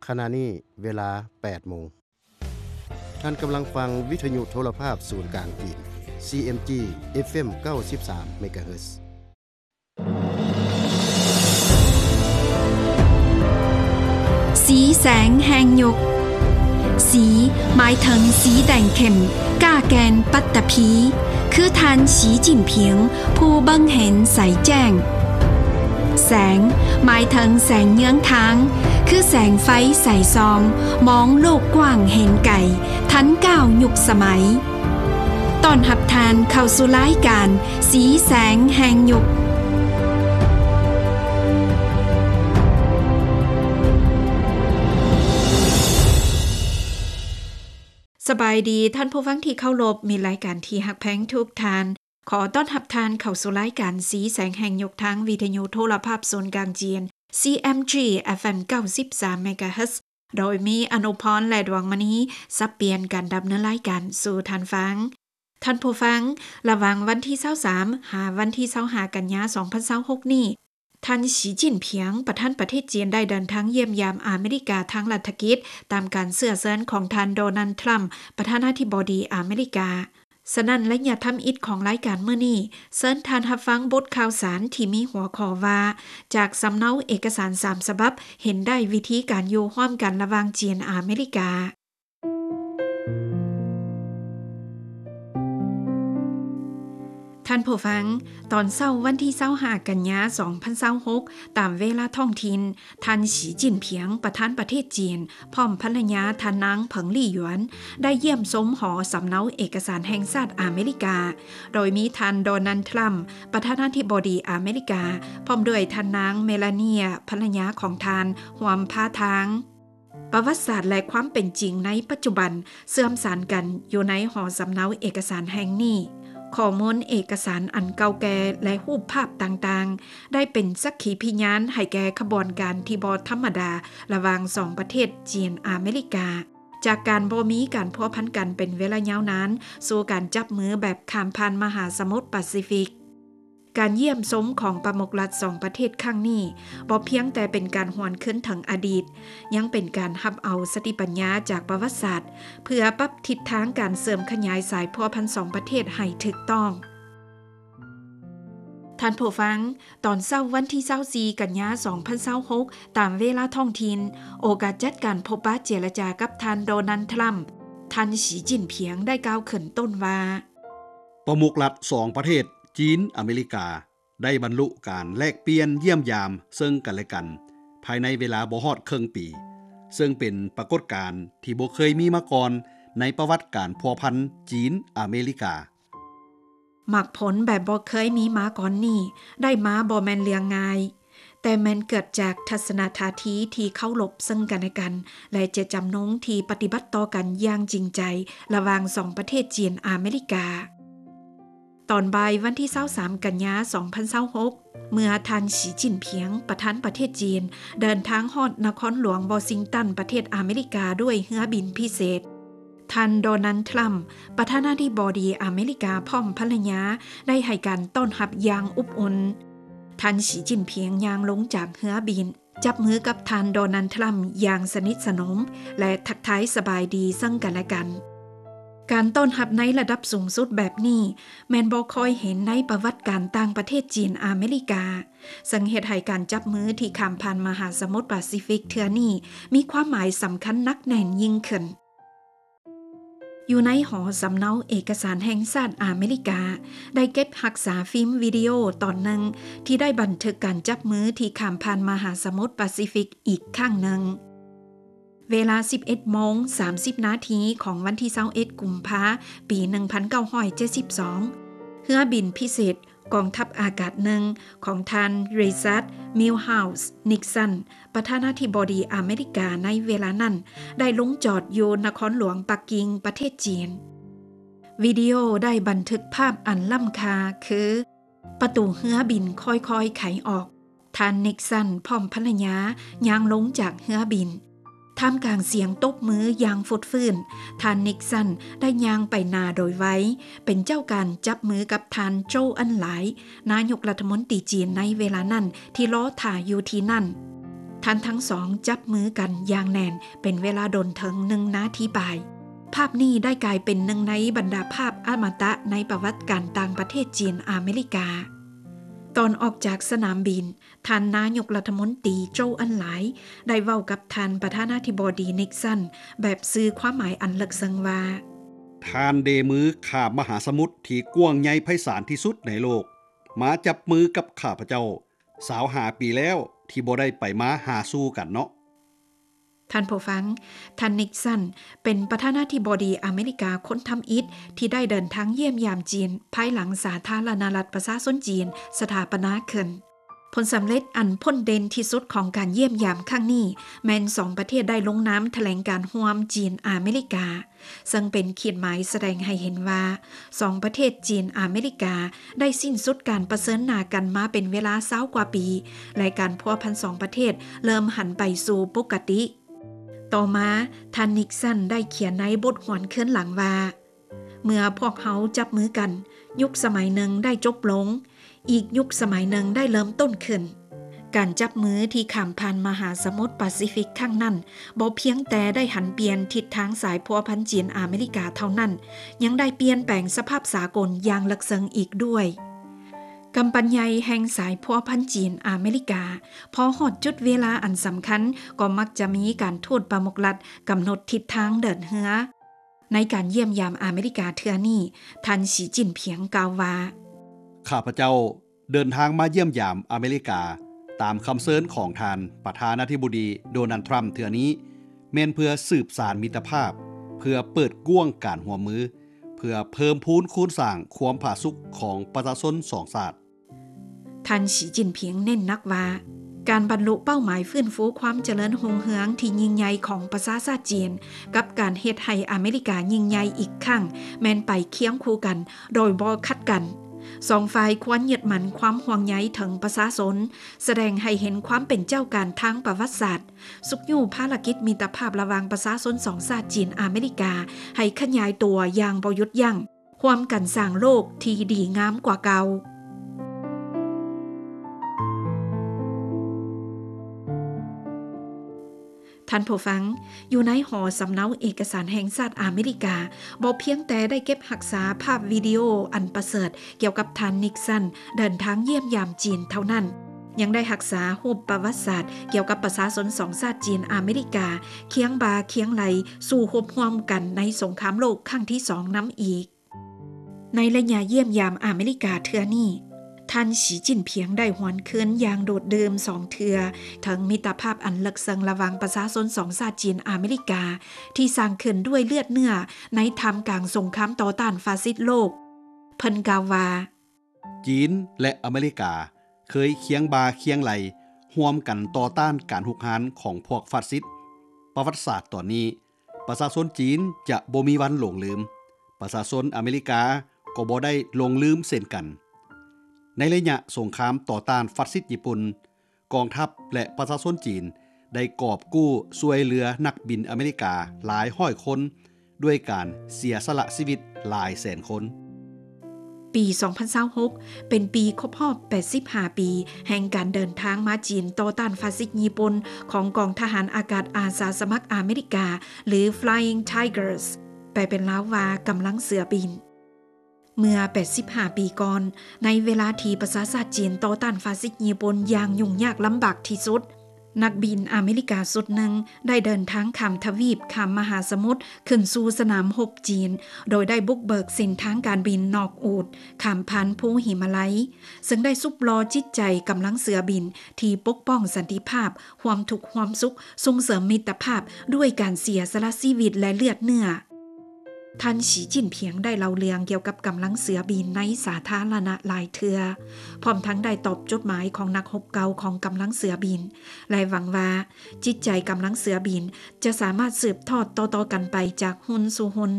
ຂະນະນີ້ເວລາແປດໂມງ. ທ່ານກຳລັງຟັງວິທະຍຸໂທລະພາບສູນກາງຈີນ ຊີເອັມຈີ ເອັຟເອັມ ເກົ້າສິບສາມເມກາເຮີດ. ສີແສງແຫ່ງຍຸກ. ສີ ໝາຍເຖິງສີແດງເຂັ້ມ, ກ້າແກ່ນປັດຕະພີ, ຄືທ່ານ ສີຈິ້ນຜິງ ຜູ້ເບິ່ງເຫັນໃສແຈ້ງ. ແສງ ໝາຍເຖິງແສງເຍືອງທາງ, ຄືແສງໄຟໃສສ່ອງ, ມອງໂລກກວ້າງເຫັນໄກ, ທັນກ້າວຍຸກສະໄໝ. ຕ້ອນຮັບທ່ານເຂົ້າສູ່ລາຍການ ສີແສງແຫ່ງຍຸກ. ສະບາຍດີທ່ານຜູ້ຟັງທີ່ເຄົາລົບ, ມິດລາຍການທີ່ຮັກແພງທຸກທ່ານ. ຂໍຕ້ອນຮັບທ່ານເຂົ້າສູ່ລາຍການສີແສງແຫ່ງຍຸກ ທາງວິທະຍຸໂທລະພາບສູນກາງຈີນ ຊີເອັມຈີ ເອັຟເອັມ ເກົ້າສິບສາມເມກາເຮີດ ໂດຍມີອະນຸພອນ ແລະ ດວງມະນີ ສັບປ່ຽນກັນດຳເນີນລາຍການສູ່ທ່ານຟັງ. ທ່ານຜູ້ຟັງ, ລະຫວ່າງວັນທີຊາວສາມ ຫາວັນທີຊາວຫ້າ ກັນຍາ ສອງພັນຊາວຫົກນີ້, ທ່ານ ສີຈິ້ນຜິງ ປະທານປະເທດຈີນ ໄດ້ເດີນທາງຢ້ຽມຢາມອາເມລິກາທາງລັດຖະກິດ ຕາມການເຊື້ອເຊີນຂອງທ່ານ ໂດນັລ ທຣຳ ປະທານາທິບໍດີອາເມລິກາ. ສະນັ້ນ ໄລຍະທຳອິດຂອງລາຍການມື້ນີ້ ເຊີນທ່ານຮັບຟັງບົດຂ່າວສານທີ່ມີຫົວຂໍ້ວ່າ ຈາກສຳເນົາເອກະສານສາມສະບັບ ເຫັນໄດ້ວິທີການຢູ່ຮ່ວມກັນລະຫວ່າງຈີນອາເມລິກາ. ທ່ານຜູ້ຟັງ, ຕອນເຊົ້າວັນທີຊາວຫ້າ ກັນຍາ ສອງພັນຊາວຫົກ ຕາມເວລາທ້ອງຖິ່ນ, ທ່ານ ສີຈິ້ນຜິງ ປະທານປະເທດຈີນ ພ້ອມພັນລະຍາ ທ່ານນາງ ເຜິງລີ້ຢວນ ໄດ້ຢ້ຽມຊົມຫໍສຳເນົາເອກະສານແຫ່ງຊາດອາເມລິກາ, ໂດຍມີທ່ານ ໂດນັລ ທຣຳ ປະທານາທິບໍດີອາເມລິກາ ພ້ອມດ້ວຍທ່ານນາງ ເມລາເນຍ ພັນລະຍາຂອງທ່ານ ຮ່ວມພາທາງ. ປະຫວັດສາດ ແລະ ຄວາມເປັນຈິງໃນປັດຈຸບັນເຊື່ອມສານກັນຢູ່ໃນຫໍສຳເນົາເອກະສານແຫ່ງນີ້. ຂໍ້ມູນເອກະສານອັນເກົ່າແກ່ ແລະ ຮູບພາບຕ່າງໆ ໄດ້ເປັນສັກຂີພິຍານໃຫ້ແກ່ຂະບວນການທີ່ບໍ່ທຳມະດາລະຫວ່າງສອງປະເທດຈີນອາເມລິກາ, ຈາກການບໍ່ມີການພົວພັນກັນເປັນເວລາຍາວນານ ສູ່ການຈັບມືແບບຂ້າມຜ່ານມະຫາສະໝຸດປາຊີຟິກ. ການຢ້ຽມຊົມຂອງປະມຸກລັດສອງປະເທດຄັ້ງນີ້ ບໍ່ພຽງແຕ່ເປັນການຫວນຄືນເຖິງອະດີດ, ຍັງເປັນການຮັບເອົາສະຕິປັນຍາຈາກປະຫວັດສາດ ເພື່ອປັບທິດທາງການເສີມຂະຫຍາຍສາຍພົວພັນສອງປະເທດໃຫ້ຖືກຕ້ອງ. ທ່ານຜູ້ຟັງ, ຕອນເຊົ້າວັນທີຊາວສີ່ ກັນຍາ ສອງພັນຊາວຫົກ ຕາມເວລາທ້ອງຖິ່ນ, ໂອກາດຈັດການພົບປະເຈລະຈາກັບທ່ານ ໂດນັລ ທຣຳ, ທ່ານ ສີຈິ້ນຜິງ ໄດ້ກ່າວຂຶ້ນຕົ້ນວ່າ, ປະມຸກລັດສອງປະເທດ ຈີນ-ອາເມລິກາ ໄດ້ບັນລຸການແລກປ່ຽນຢ້ຽມຢາມເຊິ່ງກັນແລະກັນ ພາຍໃນເວລາບໍ່ຮອດເຄິ່ງປີ, ເຊິ່ງເປັນປາກົດການທີ່ບໍ່ເຄີຍມີມາກ່ອນໃນປະຫວັດການພົວພັນຈີນ-ອາເມລິກາ. ໝາກຜົນແບບບໍ່ເຄີຍມີມາກ່ອນນີ້ ໄດ້ມາບໍ່ແມ່ນເລື່ອງງ່າຍ, ແຕ່ແມ່ນເກີດຈາກທັດສະນະທ່າທີທີ່ເຄົາລົບເຊິ່ງກັນແລະກັນ ແລະ ເຈດຈຳນົງທີ່ປະຕິບັດຕໍ່ກັນຢ່າງຈິງໃຈ ລະຫວ່າງສອງປະເທດຈີນ-ອາເມລິກາ. ຕອນບ່າຍວັນທີຊາວສາມ ກັນຍາ ສອງພັນຊາວຫົກ ເມື່ອທ່ານ ສີຈິ້ນຜິງ ປະທານປະເທດຈີນ ເດີນທາງຮອດນະຄອນຫຼວງວໍຊິງຕັນ ປະເທດອາເມລິກາ ດ້ວຍເຮືອບິນພິເສດ, ທ່ານ ໂດນັລ ທຣຳ ປະທານາທິບໍດີອາເມລິກາ ພ້ອມພັນລະຍາ ໄດ້ໃຫ້ການຕ້ອນຮັບຢ່າງອົບອຸ່ນ. ທ່ານ ສີຈິ້ນຜິງ ຍ່າງລົງຈາກເຮືອບິນ, ຈັບມືກັບທ່ານ ໂດນັລ ທຣຳ ຢ່າງສະໜິດສະໜົມ ແລະ ທັກທາຍສະບາຍດີເຊິ່ງກັນແລະກັນ. ການຕ້ອນຮັບໃນລະດັບສູງສຸດແບບນີ້ ແມ່ນບໍ່ຄ່ອຍເຫັນໃນປະຫວັດການຕ່າງປະເທດຈີນ-ອາເມລິກາ, ເຊິ່ງເຮັດໃຫ້ການຈັບມືທີ່ຂ້າມຜ່ານມະຫາສະໝຸດປາຊີຟິກເທື່ອນີ້ ມີຄວາມໝາຍສຳຄັນໜັກແໜ້ນຍິ່ງຂຶ້ນ. ຢູ່ໃນຫໍສຳເນົາເອກະສານແຫ່ງຊາດອາເມລິກາ ໄດ້ເກັບຮັກສາຟີມວິດີໂອຕອນໜຶ່ງ ທີ່ໄດ້ບັນທຶກການຈັບມືທີ່ຂ້າມຜ່ານມະຫາສະໝຸດປາຊີຟິກອີກຄັ້ງໜຶ່ງ. ເວລາສິບເອັດໂມງສາມສິບນາທີຂອງວັນທີຊາວເອັດ ກຸມພາ ປີ ໜຶ່ງພັນເກົ້າຮ້ອຍເຈັດສິບສອງ, ເຮືອບິນພິເສດ ກອງທັບອາກາດໜຶ່ງ ຂອງທ່ານ ຣີຊາດ ມິລເຮີສ ນິກສັນ ປະທານາທິບໍດີອາເມລິກາໃນເວລານັ້ນ ໄດ້ລົງຈອດຢູ່ນະຄອນຫຼວງປັກກິ່ງ ປະເທດຈີນ. ວິດີໂອໄດ້ບັນທຶກພາບອັນລ້ຳຄ່າ ຄື ປະຕູເຮືອບິນຄ່ອຍໆໄຂອອກ, ທ່ານ ນິກສັນ ພ້ອມພັນລະຍາ ຍ່າງລົງຈາກເຮືອບິນ. ທ່າມກາງສຽງຕົບມືຢ່າງຟົດຟື້ນ, ທ່ານ ນິກສັນ ໄດ້ຍ່າງໄປໜ້າໂດຍໄວ, ເປັນເຈົ້າການຈັບມືກັບທ່ານ ໂຈ ເອິນຫຼາຍ ນາຍົກລັດຖະມົນຕີຈີນໃນເວລານັ້ນ ທີ່ລໍຖ້າຢູ່ທີ່ນັ້ນ. ທ່ານທັງສອງຈັບມືກັນຢ່າງແໜ້ນເປັນເວລາດົນເຖິງໜຶ່ງນາທີປາຍ. ພາບນີ້ໄດ້ກາຍເປັນໜຶ່ງໃນບັນດາພາບອະມະຕະໃນປະຫວັດການຕ່າງປະເທດຈີນອາເມລິກາ. ຕອນອອກຈາກສະໜາມບິນ, ທ່ານນາຍົກລັດຖະມົນຕີ ໂຈ ເອີນ ໄລ ໄດ້ເວົ້າກັບທ່ານປະທານາທິບໍດີ ນິກສັນ ແບບສື່ຄວາມໝາຍອັນເລິກເຊິ່ງວ່າ, ທ່ານເດມືຂ້າມມະຫາສະໝຸດທີ່ກວ້າງໃຫຍ່ໄພສານທີ່ສຸດໃນໂລກ ມາຈັບມືກັບຂ້າພະເຈົ້າ ຊາວຫ້າປີແລ້ວທີ່ບໍ່ໄດ້ໄປມາຫາສູ່ກັນເນາະ. ທ່ານຜູ້ຟັງ, ທ່ານ ນິກສັນ ເປັນປະທານາທິບໍດີອາເມລິກາຄົນທຳອິດທີ່ໄດ້ເດີນທາງຢ້ຽມຢາມຈີນ ພາຍຫຼັງສາທາລະນະລັດປະຊາຊົນຈີນສະຖາປະນາຂຶ້ນ. ຜົນສຳເລັດອັນພົ້ນເດັ່ນທີ່ສຸດຂອງການຢ້ຽມຢາມຄັ້ງນີ້ ແມ່ນສອງປະເທດໄດ້ລົງນາມຖະແຫຼງການຮ່ວມຈີນອາເມລິກາ, ເຊິ່ງເປັນຂີດໝາຍສະແດງໃຫ້ເຫັນວ່າ ສອງປະເທດຈີນອາເມລິກາໄດ້ສິ້ນສຸດການປະເຊີນໜ້າກັນມາເປັນເວລາຊາວກວ່າປີ ແລະ ການພົວພັນສອງປະເທດເລີ່ມຫັນໄປສູ່ປົກກະຕິ. ຕໍ່ມາ, ທ່ານ ນິກສັນ ໄດ້ຂຽນໃນບົດຫວນຄືນຫຼັງວ່າ, ເມື່ອພວກເຮົາຈັບມືກັນ, ຍຸກສະໄໝໜຶ່ງໄດ້ຈົບລົງ, ອີກຍຸກສະໄໝໜຶ່ງໄດ້ເລີ່ມຕົ້ນຂຶ້ນ. ການຈັບມືທີ່ຂ້າມຜ່ານມະຫາສະໝຸດປາຊີຟິກຄັ້ງນັ້ນ ບໍ່ພຽງແຕ່ໄດ້ຫັນປ່ຽນທິດທາງສາຍພົວພັນຈີນອາເມລິກາເທົ່ານັ້ນ, ຍັງໄດ້ປ່ຽນແປງສະພາບສາກົນຢ່າງເລິກເຊິ່ງອີກດ້ວຍ. ກຳປັ່ນໃຫຍ່ແຫ່ງສາຍພົວພັນຈີນອາເມລິກາ ພໍຮອດຈຸດເວລາອັນສຳຄັນ ກໍມັກຈະມີການທູດປະມຸກລັດກຳນົດທິດທາງເດີນເຮືອ. ໃນການຢ້ຽມຢາມອາເມລິກາເທື່ອນີ້, ທ່ານ ສີ ຈິ້ນຜິງ ກ່າວວ່າ, ຂ້າພະເຈົ້າເດີນທາງມາຢ້ຽມຢາມອາເມລິກາ ຕາມຄຳເຊີນຂອງທ່ານປະທານາທິບໍດີ ໂດນັລ ທຣຳ ເທື່ອນີ້ ແມ່ນເພື່ອສືບສານມິດຕະພາບ, ເພື່ອເປີດກວ້າງການຮ່ວມມື, ເພື່ອເພີ່ມພູນຄູນສ້າງຄວາມຜາສຸກຂອງປະຊາຊົນສອງຊາດ. ທ່ານ ສີ ຈິ້ນຜິງ ເນັ້ນໜັກວ່າ ການບັນລຸເປົ້າໝາຍຟື້ນຟູຄວາມຈະເລີນຮຸ່ງເຮືອງທີ່ຍິ່ງໃຫຍ່ຂອງປະຊາຊາດຈີນ ກັບການເຮັດໃຫ້ອາເມລິກາຍິ່ງໃຫຍ່ອີກຄັ້ງ ແມ່ນໄປຄຽງຄູ່ກັນໂດຍບໍ່ຂັດກັນ. ສອງຝ່າຍຄວນຍຶດໝັ້ນຄວາມຫ່ວງໃຍເຖິງປະຊາຊົນ, ສະແດງໃຫ້ເຫັນຄວາມເປັນເຈົ້າການທາງປະຫວັດສາດ, ຊຸກຍູ້ພາລະກິດມິດຕະພາບລະຫວ່າງປະຊາຊົນສອງຊາດຈີນອາເມລິກາໃຫ້ຂະຫຍາຍຕົວຢ່າງບໍ່ຢຸດຢັ້ງ. ຮ່ວມກັນສ້າງໂລກທີ່ດີງາມກວ່າເກົ່າ. ທ່ານຜູ້ຟັງ, ຢູ່ໃນຫໍສຳເນົາເອກະສານແຫ່ງຊາດອາເມລິກາ ບໍ່ພຽງແຕ່ໄດ້ເກັບຮັກສາພາບວິດີໂອອັນປະເສີດກ່ຽວກັບທ່ານ ນິກສັນ ເດີນທາງຢ້ຽມຢາມຈີນເທົ່ານັ້ນ, ຍັງໄດ້ຮັກສາຮູບປະຫວັດສາດກ່ຽວກັບປະຊາຊົນສອງຊາດຈີນອາເມລິກາ ຄຽງບ່າຄຽງໄຫຼ່ສູ້ຮົບຮ່ວມກັນໃນສົງຄາມໂລກຄັ້ງທີສອງນຳອີກ. ໃນໄລຍະຢ້ຽມຢາມອາເມລິກາເທື່ອນີ້, ທ່ານ ສີ ຈິ້ນຜິງ ໄດ້ຫວນຄືນຢ່າງໂດດດື່ມສອງເທື່ອເຖິງມິດຕະພາບອັນເລິກເຊິ່ງລະຫວ່າງປະຊາຊົນສອງຊາດຈີນອາເມລິກາ ທີ່ສ້າງຂຶ້ນດ້ວຍເລືອດເນື້ອໃນທ່າມກາງສົງຄາມຕໍ່ຕ້ານຟາຊິດໂລກ. ເພິ່ນກ່າວວ່າ, ຈີນ ແລະ ອາເມລິກາເຄີຍຄຽງບ່າຄຽງໄຫຼ່ຮ່ວມກັນຕໍ່ຕ້ານການຮຸກຮານຂອງພວກຟາຊິດ. ປະຫວັດສາດຕອນນີ້ ປະຊາຊົນຈີນຈະບໍ່ມີວັນຫຼົງລືມ, ປະຊາຊົນອາເມລິກາກໍບໍ່ໄດ້ຫຼົງລືມເຊັ່ນກັນ. ໃນໄລຍະສົງຄາມຕໍ່ຕ້ານຟາຊິດຍີ່ປຸ່ນ, ກອງທັບ ແລະ ປະຊາຊົນຈີນໄດ້ກອບກູ້ຊ່ວຍເຫຼືອນັກບິນອາເມລິກາຫຼາຍຮ້ອຍຄົນ ດ້ວຍການເສຍສະຫຼະຊີວິດຫຼາຍແສນຄົນ. ປີສອງພັນຊາວຫົກ ເປັນປີຄົບຮອບແປດສິບຫ້າປີແຫ່ງການເດີນທາງມາຈີນຕໍ່ຕ້ານຟາຊິດຍີ່ປຸ່ນຂອງກອງທະຫານອາກາດອາສາສະໝັກອາເມລິກາ ຫຼື Flying Tigers ແປເປັນລາວວ່າກຳລັງເສືອບິນ. ເມື່ອແປດສິບຫ້າປີກ່ອນ, ໃນເວລາທີ່ປະຊາຊາດຈີນຕໍ່ຕ້ານຟາຊິດຍີ່ປຸ່ນຢ່າງຫຍຸ້ງຍາກລຳບາກທີ່ສຸດ, ນັກບິນອາເມລິກາຊຸດໜຶ່ງໄດ້ເດີນທາງຂ້າມທະວີບ, ຂ້າມມະຫາສະໝຸດ, ຂຶ້ນສູ່ສະໜາມຮົບຈີນ, ໂດຍໄດ້ບຸກເບີກເສັ້ນທາງການບິນນອກອູດ, ຂ້າມຜ່ານພູຫິມາໄລ, ເຊິ່ງໄດ້ຊຸບຫຼໍ່ຈິດໃຈກຳລັງເສືອບິນທີ່ປົກປ້ອງສັນຕິພາບ, ຮ່ວມທຸກຮ່ວມສຸກ, ສົ່ງເສີມມິດຕະພາບດ້ວຍການເສຍສະຫຼະຊີວິດ ແລະ ເລືອດເນື້ອ. ທ່ານ ສີ ຈິ້ນຜິງ ໄດ້ເລົ່າເລື່ອງກ່ຽວກັບກຳລັງເສືອບິນໃນສາທາລະນະຫຼາຍເທື່ອ, ພ້ອມທັງໄດ້ຕອບຈົດໝາຍຂອງນັກຮົບເກົ່າຂອງກຳລັງເສືອບິນ ແລະ ຫວັງວ່າຈິດໃຈກຳລັງເສືອບິນຈະສາມາດສືບທອດຕໍ່ໆກັນໄປຈາກຮຸ່ນສູ່ຮຸ່ນ